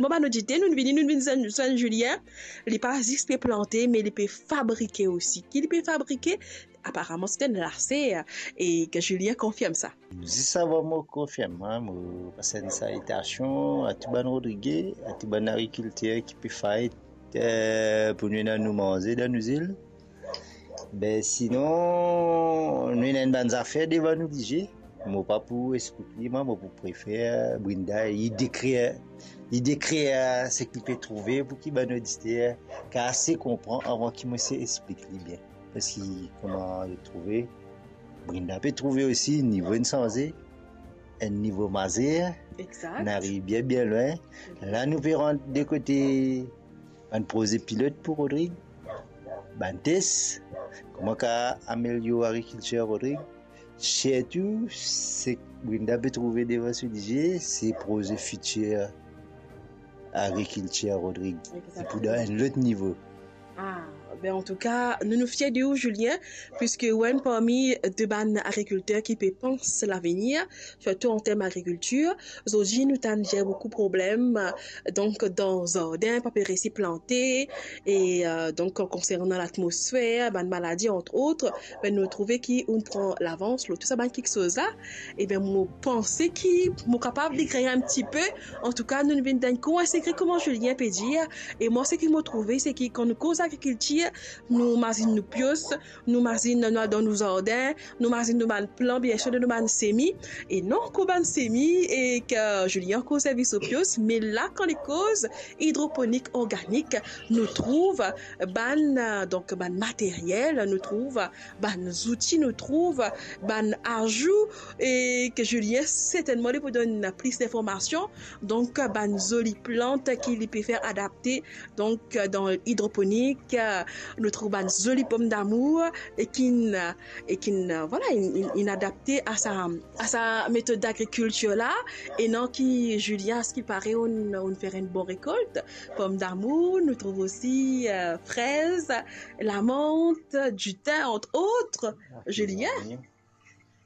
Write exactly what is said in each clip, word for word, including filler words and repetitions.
Bon, bann oditer, nou vini, nou vinn zwenn, zwenn Julien. Li pa zis pe plante, me li pe fabrike osi. Ki li pe fabrike? Aparaman, se enn laser, e ke Julien konfirm sa. Zis avan mo konfirm, mo pas enn salitasion a tou bann Rodrige, a tou bann agrikilter ki pe fight, eh, pou nou ena nou manze dan nou zil. Be sinon, nou ena enn bann zafer devan nou lizie. Mo pa pou explik li, mwa, mo pou prefer Brinda, li dekrir, li dekrir seki li pe trouve pou ki bann oditer ka ase konpran avan ki mo se explik li bien. Parski kouma li trouve, Brinda pe trouve osi nivo inn sanze, enn nivo mazer, Exact. nou ariv bien, bien lwin. La, nou pe rant de kote bann proze pilot pou Rodrig, bann tes, kouma ka amelior agrikiltir Rodrig. Sirtou, seki Brinda pe trouve devan so lizie, se proze fitir agrikiltir Rodrig. Exactement. E pou dan enn lot nivo. Ah, ben, antouka, nou, nou fier de ou, Julien, piski ou enn parmi de bann agrikilter ki pe pans lavenir, sirtou an term agrikiltir. Zordi, nou tann ena boukou problem, donk, dan zardin, pa pe resi plante, e, euh, donk, konsernan latmosfer, bann maladi, entre autres, ben, nou trouve ki ou pran lavans lor tou sa bann kiksoz la. E ben, mo panse ki mo kapav dekrir enn tipe. Antouka, nou vinn dan enn kour sekre, kouma Julien pe dir. E mwa, seki mo trouve, se ki kan nou koz agrikiltir, nou mazinn nou pios, nou mazinn nou al dan nou zardin, nou mazinn nou bann plan, biensir, nou bann semi. E non, kouma bann semi, e ki Julien ankor servi so pios, me la, kan li koz idroponik organik, nou trouv bann, euh, donk, bann materiel, nou trouv bann zouti, nou trouv bann azou, e ki Julien sertennman li pou donn plis linformasion. Donk, bann zoli plant ki li pe fer adapte. Donk, dan idroponik, nou trouv bann zoli pomdamour, e ki, e ki, vwala, inn, inn, inn adapte a sa, a sa metod agrikiltir la. E non ki Julien, a se ki pare, inn, inn fer enn bon rekolt. Pomdamour, nou trouv osi, euh, frez, lamant, ditin, entre autres. Julien.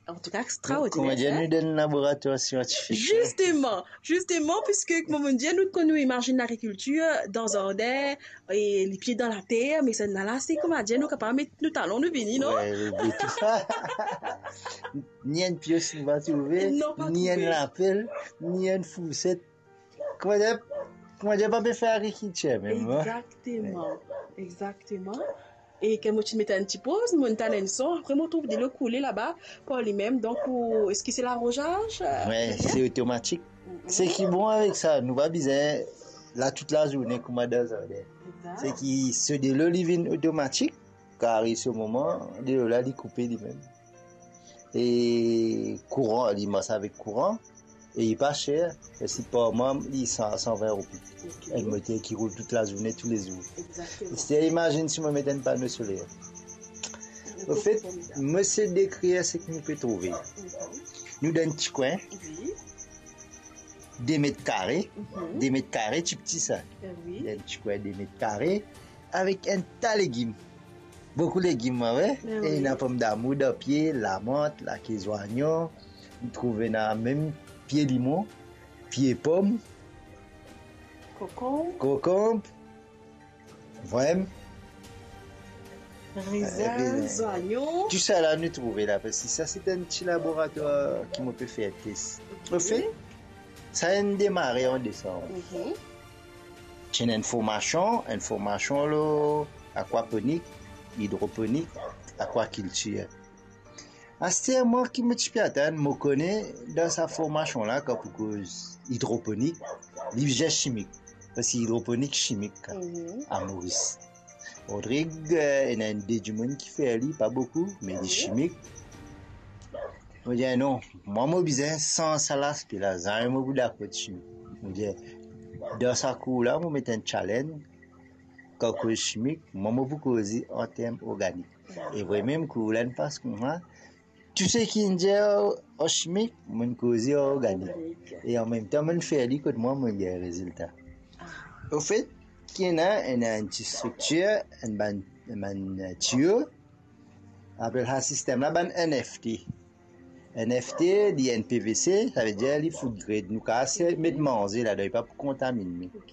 Antouka, extraordiner, kouma dir, hein? Nou dan laboratwar siantifik, hein? Zisteman, zisteman, piski, kouma dir, nou, kan nou imazinn lagrikiltir dan zardin, e lipie dan later, me sa la, se, kouma dir, nou kapav met nou talon, nou vini, non? Wi, wi, wi. Ni enn pios nou pa trouve, non, pa trouve, ni enn lapel, ni enn fourset. Kouma dir, kouma dir, pa pe fer agrikiltir mem, hein? Exactement, exactement. E kan mo ti met enn ti poz, mo tann enn son, apre mo trouv delo koule laba par limem. Donk, ou, eski se larozaz, euh, Julien? Wi, se otomatik. Mhm. Seki bon avek sa, nou pa bizin la tout lazourne kouma dan zardin. Exact. Seki so delo, li vinn otomatik, kan ariv so moman, delo la, li koupe limem. E kouran, li mars avek kouran, e li pa ser, parski par mwa, li san, san vin roupi. Ok. Enn moter ki roul tout lazourne, toulezour. Exactement. Isi, imazinn si mo met enn pano soler. Anfet, mo se dekrir seki nou pe trouve. Mhm. Nou dan enn ti kwin. Wi. De met kare, mhm, de met kare, ti pti sa. Eh wi. Dan enn ti kwin de met kare, avek enn ta legim. Boukou legim, wi. Eh wi. E ena pomdamour dan pie, lamant, lake zwayon, nou trouv ena mem pie limon, pie pom, kokonb. Kokonb. Vremem. Rezin, eh, rezin, zwayon. Tou sa la nou trouve la, parski sa se enn ti laboratwar ki mo pe fer tes. Ok. Anfet, sa inn demare an desanm. Mhm. Ti ena enn formasion, enn formasion lor akwaponik, idroponik, akwakiltir. Aster mwa ki mo ti pe atann, mo kone dan sa formasion la, kan pou koz idroponik, li bizin simik, parski idroponik simik, mhm, a Moris. Rodrig, eh, ena enn de dimoun ki fer li, pa boukou, me li, mhm, simik. Mo dir, non, mwa mo bizin sanz sa laspe la, zame mo pou dakor simik. Mo dir, dan sa kour la, mo met enn challenge, kan koz simik, mwa mo pou koze an term organik. E vremem, kour la inn pas koumsa, tou seki inn dir an simik, mo'nn koze an organik. Organik. E anmemtan, mo'nn fer li kot mwa, mo'nn gagn rezilta. Ah. Anfet, ki ena, ena enn ti striktir, enn bann, enn bann, eh, tiyo, apel sa sistem la bann N F T. Enn F T, li enn P V C, savedir li food grade, nou kapav met manze ladan, li pa pou kontaminn nou.